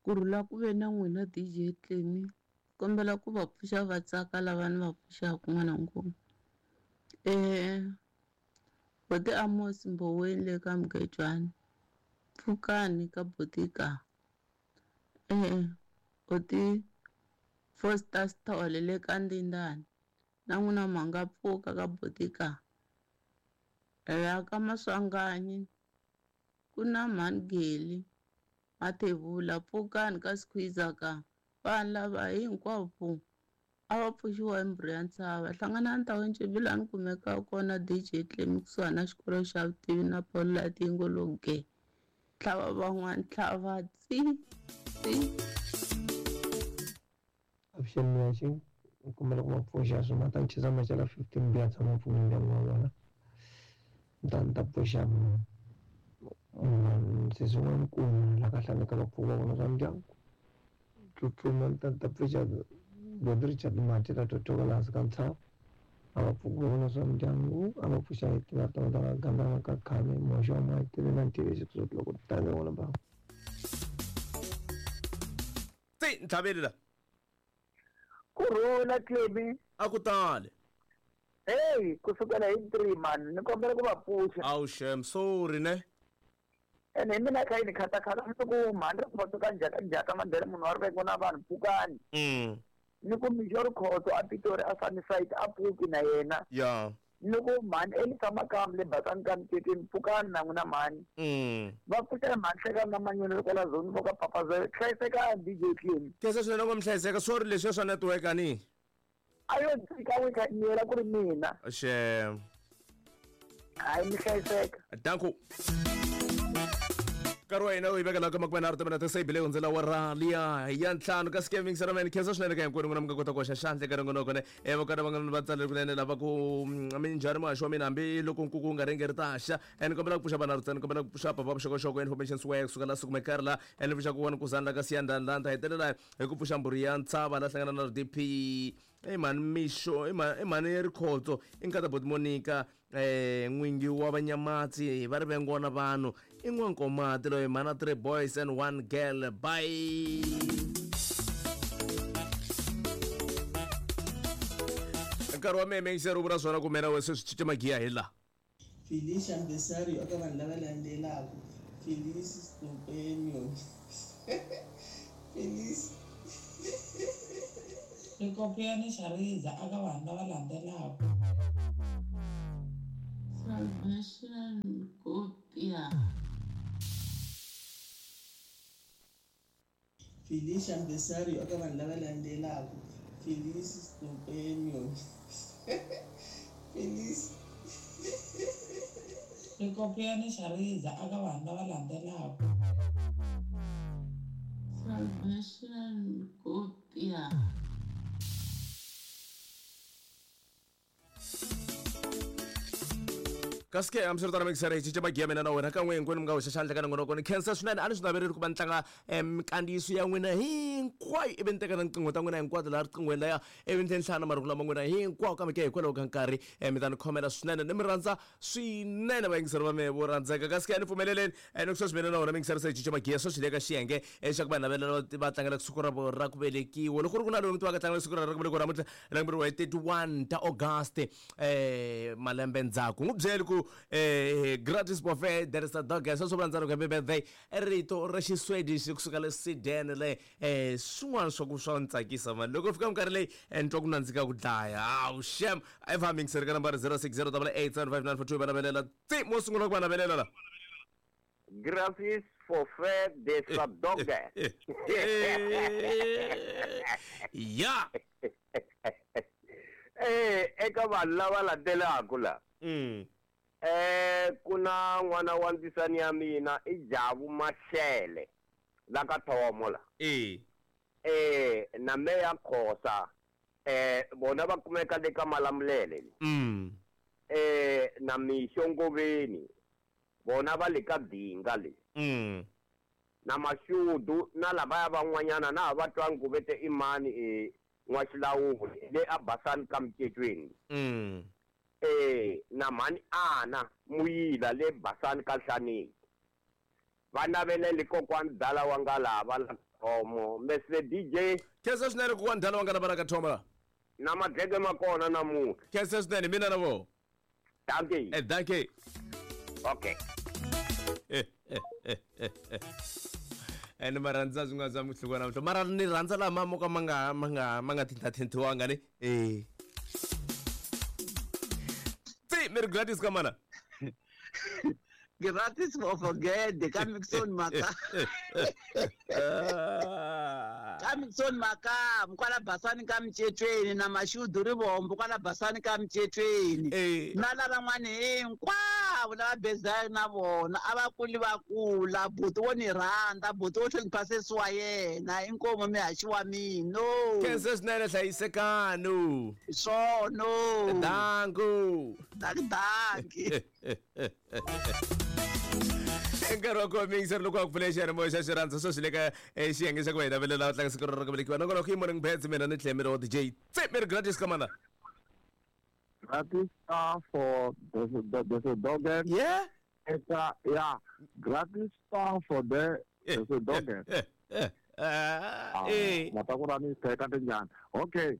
Kurhula ku ve na n'wina DJ Clemy. Kombela ku va pfuxa va tsaka lava ni va pfuxaka n'wana nkulu. Boti Amos Mboweni le ka Mugejwani. Pfukani ka boti ka. Boti Foster Sithole le ka Ndindani. Na n'wina ma nga pfuka ka boti ka. La ka Maswanganyi ku na mhani Geli Mathebula pfukani ka Skhwiza ka. Vanhu lava hinkwavo a va pfuxiwa hi mbhuri ya ntshava. Hlanganani ta Ncimbi laha ni kumekaka kona DJ Clemy kusuhani na xikolo xa vutivi na Paul Light yi ngo lo ge. Tlhava van'wana tlhava tsi tsi. Avuxeni Muhaxi, ni kombela ku va pfuxa swi ma ta ni chisa macala 15 biya tshama mpfungwe ndyangu wa vona ni ta ni ta pfuxa sesi wa nkulu la ka hlaneka va pfuka va vona swa ndyangu tsutsuma ni ta ni ta pfuxa Boti Richard Mati la totoka laha hansi ka ntshava a va pfuki va vona swa ndyangu a va pfuxa hi tiva tona ta ka gandana ka khale muhaxi wa mati na ntiyiso loko tanga n'wana ba Tsi, ntlhaveli la. Kurhula Clemy. A ku tali. Hey, ku sukela hi 3 man, ni kombela ku va pfuxa. Awu shem, sorry ne. Ene hi mina kha yini khatakhala ni ku mhani ri khotso ka njhaka njhaka mandela munhu wa riveko na vanhu pfukani. Ni ku Mixo Rikhotso a Pitori a Sunnyside a pfuki na yena. Ya. Ni ku mhani Elisa Makamu le Basani ka Mtetweni pfukani na n'wina mhani. Va pfuxela mhani Hlekani na Manyoni le kwala Zone vo ka Papa Zoe. Hlayisekani DJ Clemy. Khensa swinene ngo mi hlayiseka. Sorry leswiya swa network a ni. A yo tshika n'wi kha nyela ku ri mina. Xem. Hayi mi hlayiseka. Danko. Nkarhi wa hina wu hi veka laha ka makume nharhu timinete se yi bile hundzela awara liya ya ntlhanu kasi ke mingisela mene khensa swinene ka hinkwenu n'wina mi nga kota ku hoxa xandla eka nongonoko ne e va kona van'wana va tsalele kunene lava ku minjhani muhaxi wa mina hambi loko nkuku wu nga ringi ri ta xa e ni kombela ku pfuxa vanharhu ntsena ni kombela ku pfuxa papa vuxokoxoko information square kusuka la sukume karhi la e ni pfuxa ku wani kuzani la ka siyandani la ni ta hetelela hi ku pfuxa mbhuri ya ntshava la hlangana na rdp i mhani mixo i mhani rikhotso i nkata boti monica n'wingi wa vanyamatsi va ri vengona vanhu i n'wankomati loyi mhana three boys and one girl bye nkarhi wa mehe meyiseri u vula swona ku mina we sweswi cinca magiya hi laha Felicia Mbesario eka vanhu lava landzelaka, Felice Scopenio, Felice. Rikopiyani Shariza aka vanhu lava landzelaka. Salvation Nkopya. Felicia Mbesario eka vanhu lava landzelaka, Felice Scopenio, Felice. Rikopiyani Shariza eka vanhu lava landzelaka. Salvation Nkopya. Kasi ke hambiswiritano mixere hi cinca magiya mina na wena kan'we hinkwenu mi nga hoxa xandla ka nongonoko ni khensa swinene a ni swi naveleri ku va ni tlanga minkandziyiso ya n'wina hinkwayo ivi ni teka na tinqingho ta n'wina hinkwato laha riqinghweni laya ivi ni tlhela ni hlaya na marungulo ma n'wina hinkwawo kambe ke hikwalaho ka nkarhi mi ta ni khomela swinene ni mi rhandza swinene vayingiseri va mehe vo rhandzeka kasi ke a ni pfumeleleni ni ku sweswi mina na wena mixere se hi cinca magiya sweswi le ka xiyenge xa ku vanhu lava va tlangelaka siku ra vo ra ku velekiwa loko ku ri ku na loyi mi tivaka tlangela siku ra ra ku velekiwa namuntlha lembe ri 31 ta August malembe ndzhaku n'wi byeli ku gratis buffet there is a dog sweswo vula ndzhaku happy birthday rito ra xiswedish kusuka le Sweden le swin'wana swa ku swa ni tsakisa mani loko fika minkarhi leyi ni twa ku nandzika ku dlaya hawu shem a yi va mingiseri ka nambara 060 8875942 va navelela tsi mo sungula ku va navelela la Gratis forfait de sa doge. Ya. Eh, eka vanhu lava landzelaka la. Eh, ku na n'wana wa ndzisani ya mina i Javu Mashele la ka Thomo la. Eh, na Meya Khosa. Eh, vona va kumeka le ka Malamulele. Eh, na Mixo Ngoveni. Vona va le ka Dinga le. Na Mashudu na lavaya van'wanyana na ha va twangi ku ve te i mani e N'waxilawuli le a Basani ka Micecweni. E na mhani Ana Muyila le Basani ka Nhlaneki. Va navelele kokwani Dala wa Ngalava la Thomo Mr DJ. Khensa swinene ku wa ndhala wa nga na vana ka Thomo la. Na madleke ma kona namuntlha. Khensa swinene mina na vo. Dankie. Dankie. Okay. Ene ma rhandza swin'wana swa muhluko namuntlha mara ni rhandza lama mo ka ma nga ma nga ma nga thintathintiwanga ni eh tsi mi ri gratis ka mana Gratis for forget ka Mixon Maka. Ka Mixon Maka kwala Basani ka Mcetweni na Mashudu Rivombo kwala Basani ka Mcetweni. Na lavan'wana hinkwavo lava bezaka na vona a va kuli va kula buti wo ni rhandza buti wo hlonipha sesi wa yena inkomu mihaxi wa mina. Khensa swinene hlayisekano. Swono. Danku. Danki. Nkarhi wa kona miyingiseri loko a ku pfule xiyanimoya xa xirhandza sweswi le ka xiyenge xa ku va hi navelela u tlanga siku rero ra ku velekiwa nongonoko i morning bets mina ni tlhela mi ri wa DJ tse mi ri gratis ka mana. Gratis for the dog. Yeah. Yeah, gratis for the dog. Matakurani teka tinjani. Okay.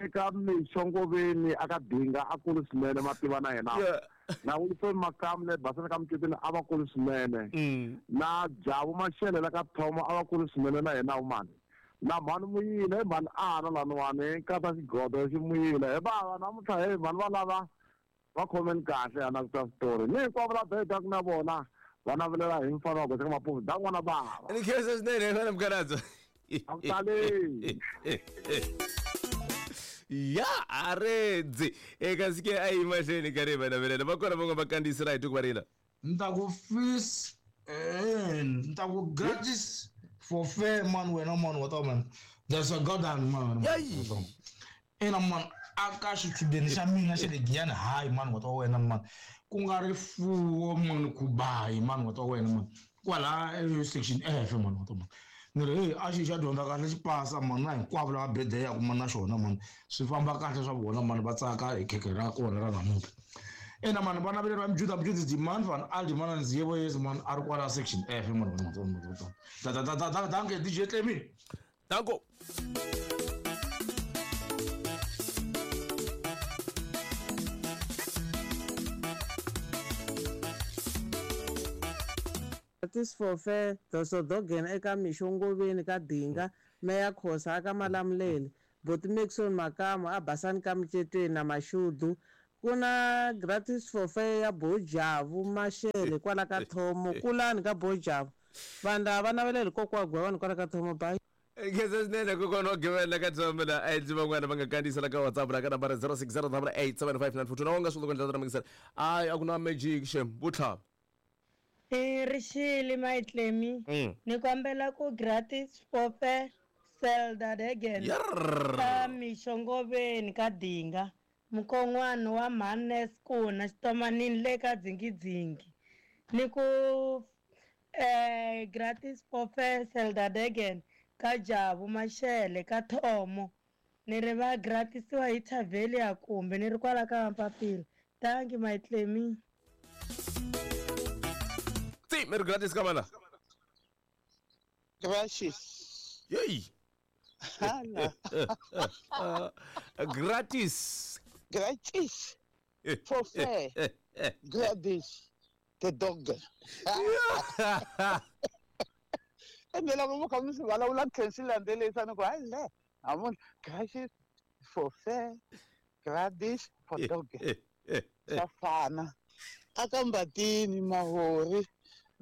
Eka mixongoveni aka dinga a kulu swinene mativa na yena. Na Wilson Makamu le Basani ka Mcetweni a va kulu swinene. Na Jabu Mashele la ka Thomo a va kulu swinene na yena umani. Na mhani muyile hi mhani ana laniwani kata xigodo xi muyile hi bava namuntlha hi mhani va lava va khomeni kahle ana ku twa switori ni hinkwavo la bedaku na vona va navelela hi mfana wa goxa ka mapufu da n'wana bava. Ni khensa swinene vana mukanadzo. A ku taleni. Ya aredzi eka sike a yi mahlweni ka ri va navelela va kona van'we va kandziyisela hi tuku va rila. Ni ta ku fees ni ta ku gratis for fair man wena man what man there's a god and man. Ina man aka xichudeni xa mina xa le Giyani hayi man what wena man ku nga ri fuwo man ku bayi man what wena man kwala section F man what man. Ni ri hey a xi xa dyondza kahle xi pasa man na hinkwavo lava bedeyaku man na xona man swi famba kahle swa vona man va tsaka hi khekhe ra kona ra namuntlha. Ena man va navelela Mjuda Mjuda demand van Aldi man Nziyevo yes man a ri kwala section F man. Danke DJ Clemi. Danko. Gratis for fair dosodogen eka mixongoveni ka Dinga meya Khosa aka Malamulele Boti Maxon Makamu a Basani ka Mcetweni na Mashudu ku na gratis for fair ya Bojavu Mashele kwala ka Thomo kulani ka Bojavu vanhu lava va navelela kokwa Gwewani kwala ka Thomo bye. Khensa swinene kokwana wa Gwewani ka Thomo la a ndzi van'wana va nga kandziyisela ka WhatsApp la ka nambara 0608875942 na wa nga swi loko ndlela ta mingisela a a ku na magic xem vutlhava. Rixile Maitlemi ni kombela ku gratis for fair Selda Degen ka mixongoveni ka Dinga mukon'wana wa Mhannes kuna xitomanini le ka dzingidzingi ni ku gratis for fair Selda Degen ka Jabu Mashele ka Thomo ni ri va gratisiwa hi Tavelia kumbe ni ri kwala ka Mpapila. Thank you Maitlemi. Mi ri gratis ka mana. Gratis. Yey. Gratis. Gratis. For fair. Gratis. The dog. Ende loko mo kha mi swi vulavula khensi landzelisa ni ku hayi le hamuntlha gratis for fair gratis for dog. Swa fana. Aka Mbatini Mahori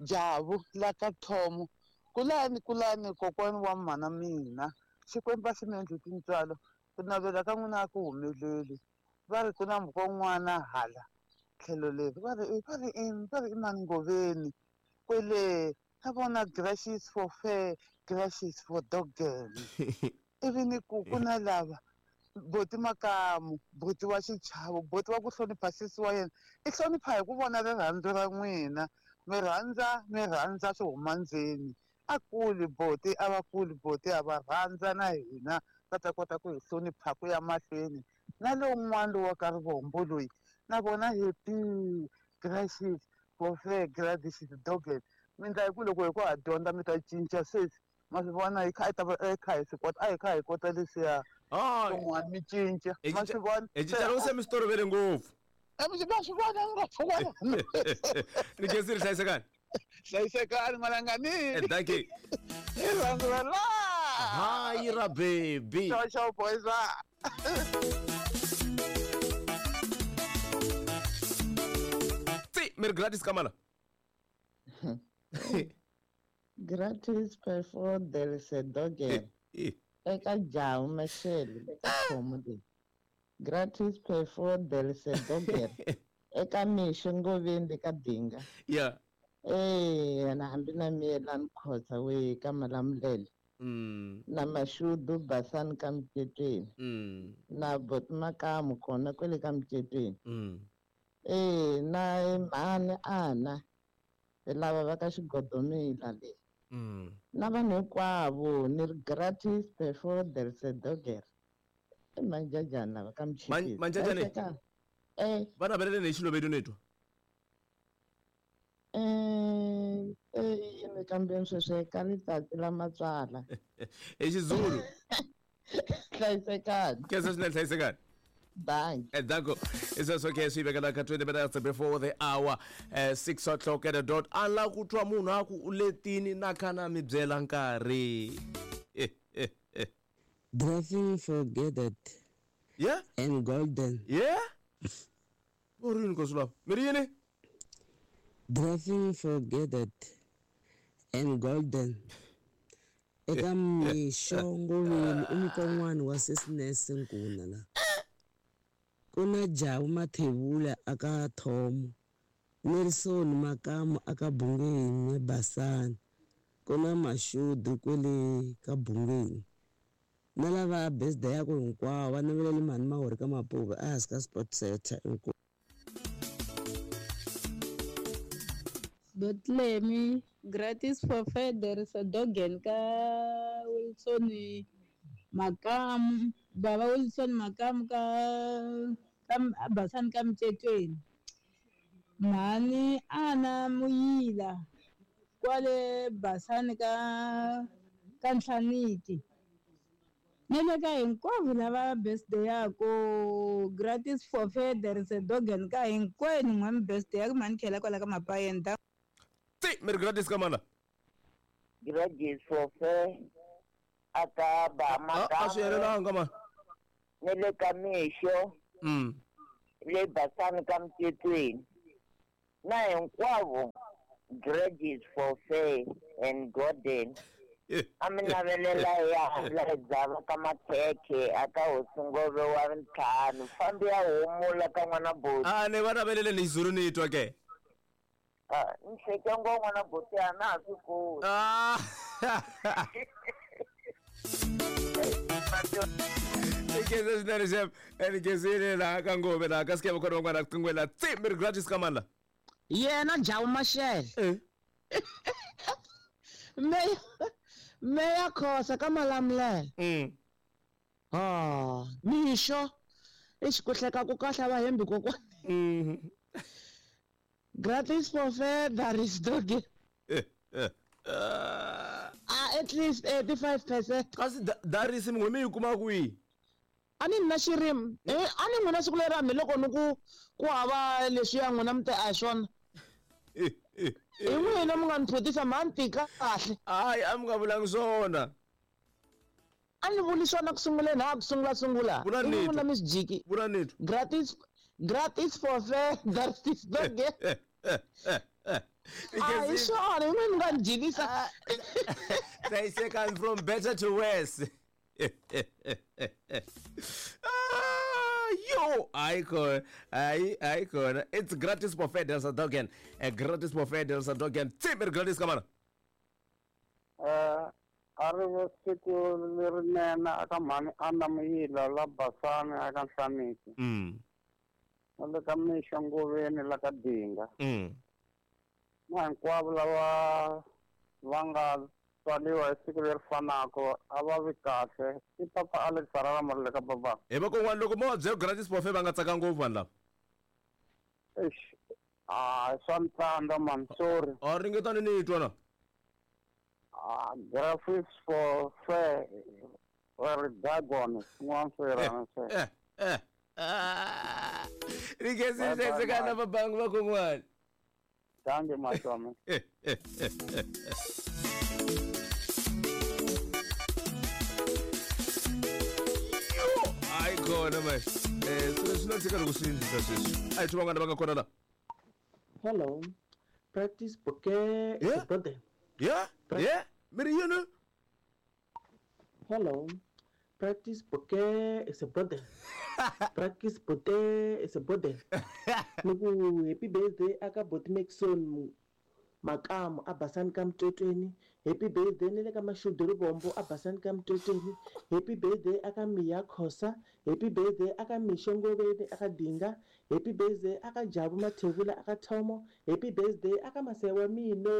Jabu la ka Thomo kulani kulani kokwani wa mhana mina Xikwembu a xi mi endli tintswalo ku navela ka n'wina a ku humeleli va ri ku na mukon'wana hala tlhelo leri va ri i mani Ngoveni kwele na vona gratis for fair gratis for dog ivi ni ku ku na lava Boti Makamu buti wa xichavo buti wa ku hlonipha sesi wa yena i hlonipha hi ku vona rirhandzu ra n'wina mi rhandza swi huma ndzeni a kuli boti a va kuli boti a va rhandza na hina va ta kota ku hi hlonipha ku ya mahlweni na lowun'wana lowa ka Rivombo loyi na vona happy gracious for fair gratis dogen mi ndla hi ku loko hi ku ha dyondza mi ta cinca sweswi Ma swi vona hi kha hi ta va hi kha hi swi kota a hi kha hi kota leswiya swin'wana mi cinca. Ma swi vona? Hi cinca loko se mi swi tolovele ngopfu. Ma swi vona ngopfu kwalano. Ni khensile hlayisekani. Hlayisekani n'wananga ni. Dankie. Hi rhandzu ra la. Hayi ra baby. Ciao ciao boys. Tsi, mi ri Gladys Kamala. Gratis perfor del Sedogen. Eka Jawu Mashele eka khomo leyi. Gratis perfor del Sedogen. Eka Mixo Ngoveni ka Dinga. Yeah. Eh, na hambi na miyelani Khoza we ka Malamulele. Na Mashudu Basani ka Mcetweni. Na Bot Makamu kona kwele ka Mcetweni. Eh, na mhani ana lava va ka Xigodomila le. Na vanhu hinkwavo ni ri gratis before del Sedoger. I manjajani lava ka Mchipisi. Manjajani? Eh. Va naveleleni hi Xilovedu ni twa. Eh, eh, kambe sweswo ka letsatsi la matswala. Hi Xizulu. Hlayisekani. Khensa swinene hlayisekani. Thank. Danko. It's also okay swi vekela ka 20 minutes before the hour 6 o'clock at the dot. A la ku twa munhu a ku u letini na kha na mi byela nkarhi. Driving for Gathered. Yeah? And Golden. Yeah? U ri yini nkosi lava? Mi ri yini? Driving for Gathered and Golden. Eka mixo Ngoveni i mukon'wana wa Sesines Nkuna la. Ku na Jawu Mathebula aka Thomo, Nelson Makamu aka Bungeni Basani, ku na Mashudu kwele ka Bungeni. Na lava birthday ya ku hinkwavo va navelele mhani Mahori ka Mapuve ehansi ka Sport Center inkomu. Bethlehem gratis for Feder Sadogen ka Wilson Makamu baba Wilson Makamu ka Basani ka Mcetweni. Mhani ana Muyila kwale Basani ka Nhlaniki. Ni le ka hinkwavo lava birthday yako gratis for Feder Sadogen ka hinkwenu n'wami birthday ya ku mhani khela kwala ka Mapayeni ta. Tsi, mi ri gratis ka mana? Gratis for Fer aka ba A swi helelanga mana. Ni le ka Mixo. Le Basani ka Mcetweni. Na hinkwavo gratis for Fer and Golden. A mi navelela ya la dzava ka Makhekhe aka hosi Ngove wa ntlhanu fambi ya humula ka n'wana buti. A ni va navelele ni Xizulu ni twa ke. Ni hleke ngo n'wana buti a na ha swi koti. Ikeze swinene Chef, nikezile laha ka Ngove laha ka Sikeva kona van'wana riqingweni laha. Tsi, mi ri gratis ka mani la? Yena Jawu Mashele. Meya Khosa ka Malamulele. Ah, mixo i ku hleka ku kahle va hembi kokwani. Gratis for Feder is doggy. At least 85%. Kasi darisi mi yi kuma kwihi? A ni na xirimi. A ni n'wina siku leri hambi loko ni ku hava leswiya n'wina mi te a hi swona. Hi n'wina mi nga ni phutisa mhani tika kahle. Hayi a mi nga vulangi swona. A ni vuli swona ku sunguleni ha ku sungula. Vula ni n'wina mi swi jiki. Vula ni twa. Gratis for Fer, gratis doggy. A hi swona hi n'wina mi nga ni jikisa. Hlayisekani from better to worse. Yo, hayi khona. It's gratis for Feder Sadogen. Gratis for Feder Sadogen. Tsi, mi ri gratis ka mana? A ri ve siku lerinene aka mhani Anna Muyila la Basani aka Nhlaniki. Na le ka Mixo Ngoveni la ka Dinga. Na hinkwavo lava va nga tswariwa hi siku leri fanaka a va vi kahle. I papa Alex Harara Marile ka baba. Hi vakon'wana loko mo va byela gratis for Fer va nga tsaka ngopfu vanhu lava. Eish. Ah, swa ni tsandza man, sorry. A ringetani ni twa na. Graphics for fair or dagon swin'wana swo yelana sweswo. Ni khensile hlayisekani na vabangi va kon'wana. Dankie Matome. Hayi kona manje. Swilo swi na tshika loko swi endlisa sweswi. A hi twi van'wana va nga kona la. Hello. Practice bouquet Yeah. birthday. Yeah. Yeah. Mi ri yini? Hello. Practice bouquet is a birthday. Practice bouquet is a birthday. Ni ku happy birthday aka Boti Maxon Makamu a Basani ka Mtotweni. Happy birthday ni le ka Mashudu Rivombo a Basani ka Mtotweni. Happy birthday aka Miya Khosa. Happy birthday aka Misho Ngoveni aka Dinga. Happy birthday aka Jabu Mathebula aka Thomo. Happy birthday aka Masewa Mino.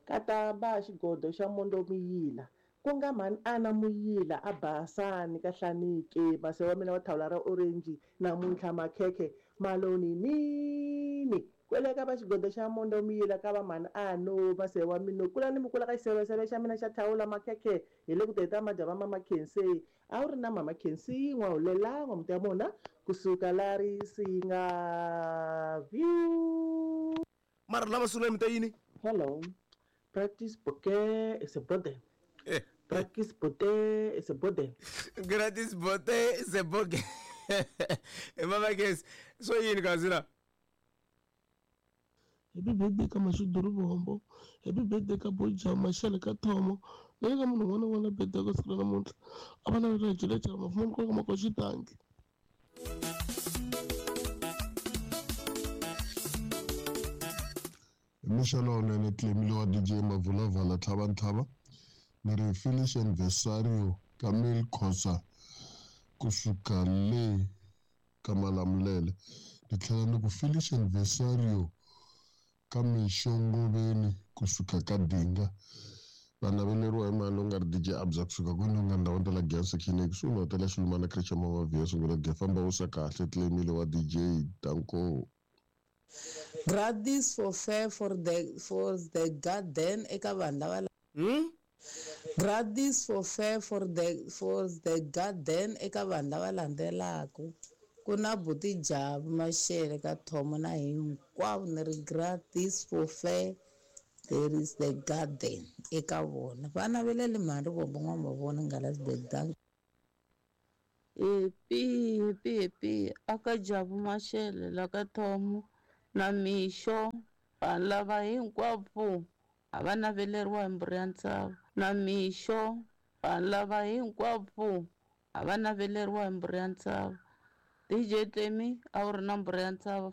Katamba xigodo xa Mondo Muyila. Ku nga mhani Ana Muyila a Basani ka Hlanike. Masewa mina wa thawula ra orange namuntlha makhekhe maloni nini. Kwele ka va xigodo xa Mondo Muyila ka va mhani Ano Masewa mino kula ni mukula ka xiseveseve xa mina xa thawula makhekhe hi le ku teta madya va mama Khensi. A wu ri na mama Khensi n'wahulela n'wamuti ya mona kusuka la Risinga view. Mara lava sungula mi ta yini? Hello. Practice bouquet is a birthday. Practice bouquet is a birthday. Gratis bote is a bouquet. Mama Khensi, swo yini kasi la? Happy birthday ka Mashudu Rivombo. Happy birthday ka Boja Mashele ka Thomo. Na le ka munhu un'wana na un'wana la birthday ka siku ra namuntlha. A va na ri jele jele mafumani ku ka makoxi danki. Mixo lowunene Clemile wa DJ Mavulavala Tlhavantlhava ni ri Felicia Anniversario Camille Khosa kusuka le ka Malamulele ni tlhela ni ku Felicia Anniversario ka Mixo Ngoveni kusuka ka Dinga va naveleriwa hi mali u nga ri DJ Abza kusuka kwini u nga ndhawini ta la Giyani section ekusuhi na hotela Xilumana Creche Mama Via sungula ge famba u sa kahle Clemile wa DJ Danko. Gratis for fair for the garden eka vanhu lava Gratis for fair for the garden eka vanhu lava landzelaka. Ku na Buti Jabu Mashele ka Thomo na hinkwavo ni ri gratis for fair there is the garden eka vona. Va naveleli mhani Rivombo n'wamavona Ngalasberg dankie. Happy happy happy aka Jabu Mashele la ka Thomo na Mixo vanhu lava hinkwavo a va naveleriwa hi mburi ya ntshava. Na Mixo vanhu lava hinkwavo a va naveleriwa hi mburi ya ntshava. DJ Temi a wu ri na mburi ya ntshava.